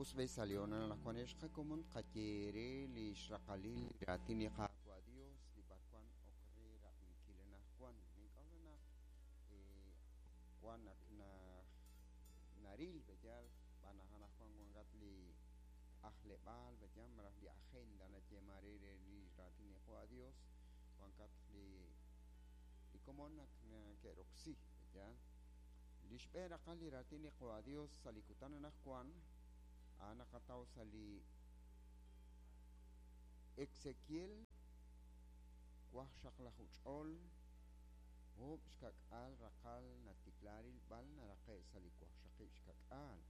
Us b'e sa' li hoonal anaqwan ex qakomon tqaye eere li xraqalil li raatin li Qaawa' Dios li b'arwan ok re rab'inkil anaqwan. Nink'a'uxla naq wan ak naril b'eyal b'an naq anaqwan wankat li ajleb'aal b'eyal malaj li agenda nayeeman re re li raatin li Qaawa' Dios wankat li komon naq nake'roksi b'eyal. Li xb'een raqal li raatin li Qaawa' Dios sa' li kutan anaqwan a'an naqataw sa' li Ezequiel waqxaqlaju ch'ol oob' xka'k'aal raqal natikla rilb'al naraqe' sa' li waqxaqib' xka'k'aal.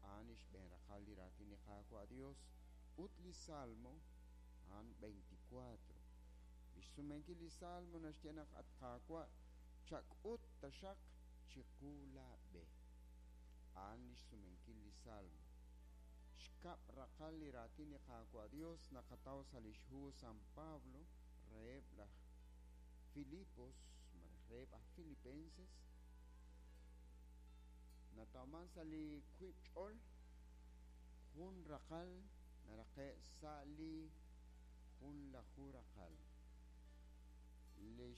A'an li xb'een raqal li raatin li Qaawa' Dios ut li Salmo a'an 24. Li xsumenkil li Salmo naxye naq at Qaawa' chak'ut taxaq chiqu laab'e. A'an li xsumenkil li Salmo. Xkab' raqal li raatin li Qaawa' Dios naqataw sa' li xhu San Pablo reheb' laj Filipos malaj reheb' aj Filipenses natawman sa' li wiib' ch'ol jun raqal naraqe' sa' li junlaju raqal. Li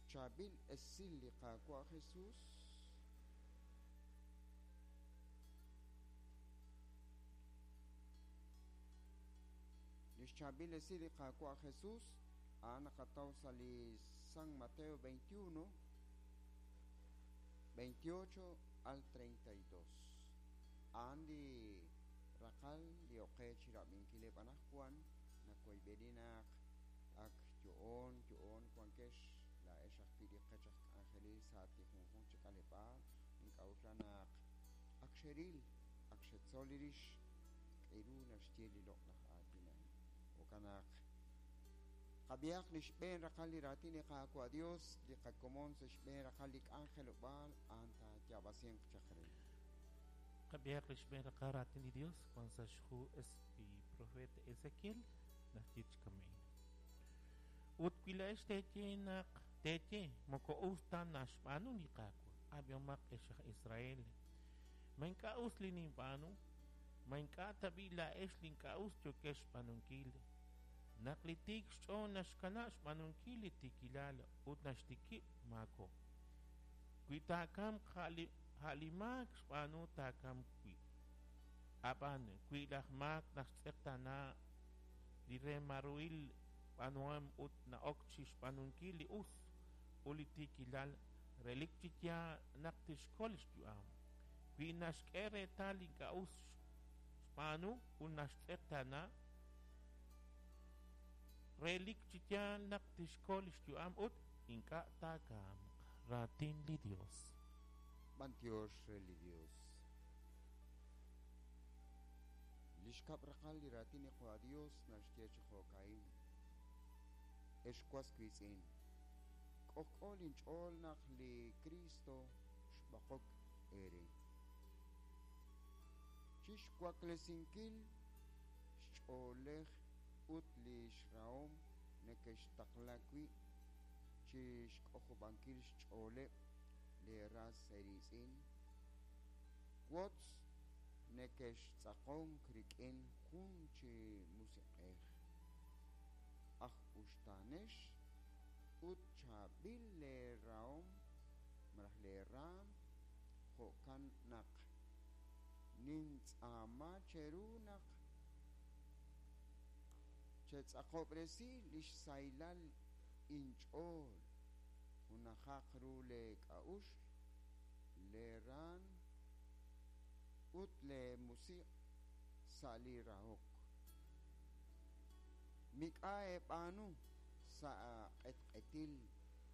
xchaab'il esil li Qaawa' Jesus li xchaab'il esil li Qaawa' Jesus a'an naqataw sa' li San Mateo 21, 28 al 32. A'an li raqal li oqe chi rab'inkileb' anaqwan nakoyb'eni naq ak yo'on yo'on wankex laa'ex ajwi' li qech aj k'anjelil sa' li junjunq chi k'aleb'aal nink'a'uxla naq ak xeril ak xetzol li rix k'eru naxye li loq'laj aatin a'in. Jo'kan naq qab'ihaq li xb'een raqal li raatin li Qaawa' Dios li qakomon sa' xb'een raqal li k'anjelob'aal a'an taayaab'asinq chaq re. Qab'ihaq li xb'een raqal raatin li Dios wan sa' xhu li profeta Ezequiel naxye chi kama'in. Ut wi laa'ex teeye naq teeye moko us ta naxb'aanu li Qaawa', ab'ihomaq ex aj Israel. Ma ink'a' us li ninb'aanu? Ma ink'a' tab'i' laa'ex li ink'a' us yookex xb'aanunkil? Naq li tiik xch'ool naxkanab' xb'aanunkil li tiikilal ut naxtikib' maako. Wi taakamq a' li maak xb'aanu taakamq wi'. Ab'an wi laj maak naxtz'eqtaana li remaruhil b'aanuhom ut na'ok chi xb'aanunkil li us ut li tiikilal relik chi yaal naq tixkol xyu'am. Wi naxk'e reetal li ink'a' us xb'aanu ut naxtz'eqtaana relik chi yaal naq tixkol xyu'am ut ink'a' taakamq. Raatin li Dios. B'antiox re li Dios. Li xkab' raqal li raatin li Qaawa' Dios naxye chi jo'ka'in. Ex was wiitz'in. K'ojk'o linch'ool naq li Cristo xb'oqok eere. Chixwaklesinkil xch'oolej ut li xrahom nekextaqla wi' chixk'ojob'ankil xch'ooleb' li ras eeriitz'in. Wotz nekextz'aqonk rik'in jun chi musiq'ej. Aj uxtaanex ut chaab'il leerahom malaj leeraam jo'kan naq nintz'aama cheru naq chetz'aqob'resi li xsahilal inch'ool junajaq ru leek'a'uxl leeraan ut leemusiq' sa' li rahok. Mik'a' eeb'aanu sa' q'etq'etil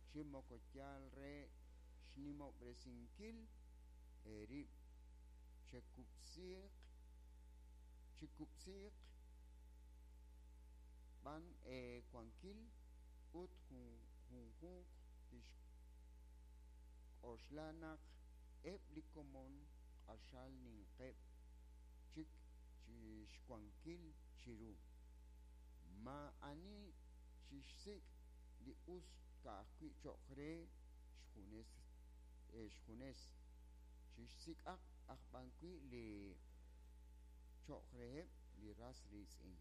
chi moko yaal re xnimob'resinkil eerib' chekub'siiq chikub'siiq b'an eewankil ut junjunq tixk'oxla naq eb' li komon q'axal ninqeb' chik chixwankil chiru. Maa'ani chixsik' li us ka'ajwi' cho'q re xjunes xjunes. Chixsik'aq aj b'an wi' li cho'q reheb' li ras riitz'in.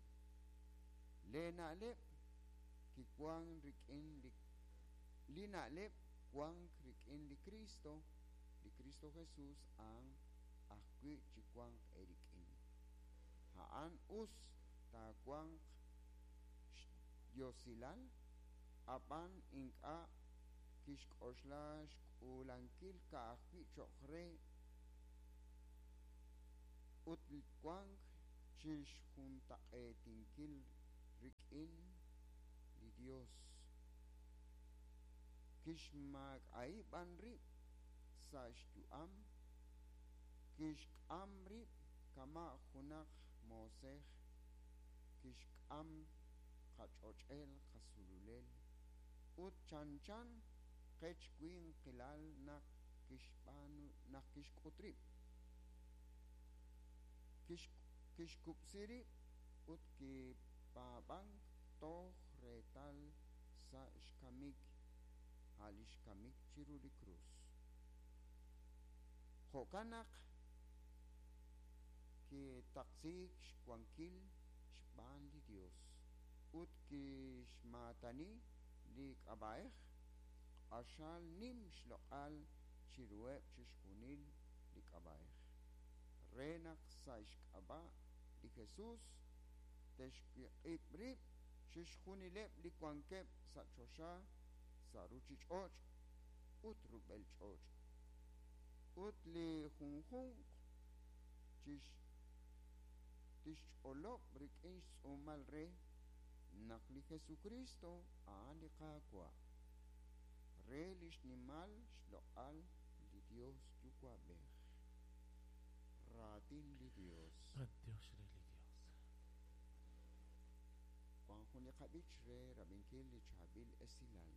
Leena'leb' kiwank rik'in li li na'leb' wank rik'in li Kristo, li Kristo Jesús a'an ajwi' chiwanq eerik'in. A'an us taawanq xyosilal, ab'an ink'a' kixk'oxla xk'uulankil ka'ajwi' cho'q re ut wank chixjuntaq'eetinkil rik'in li Dios. Kixmaak'a'i b'an rib' sa' xyu'am, kixk'am rib' kama' junaq moosej, kixk'am qach'och'el qasululel ut chanchan qech winqilal naq kixb'aanu naq kixk'ut rib'. Kixkub'si rib' ut kipaab'ank toj reetal sa' xkamik, a' li xkamik chiru li krus. Jo'kan naq kitaqsiik xwankil xb'aan li Dios ut kixmaatani li k'ab'a'ej q'axal nim xloq'al chiruheb' chixjunil li k'ab'a'ej, re naq sa' xk'ab'a' li Jesus te'xwiq'ib' rib' chixjunileb' li wankeb' sa' choxa, sa' ruuchich'och' ut rub'el ch'och', ut li junjunq tixch'olob' rik'in xtz'uumal re naq li Jesukristo a'an li Qaawa', re li xnimal xloq'al li Dios Yuwa'b'ej. Raatin li Dios. B'antiox re li Dios. Wank jun li qab'ich re rab'inkil li chaab'il esilal.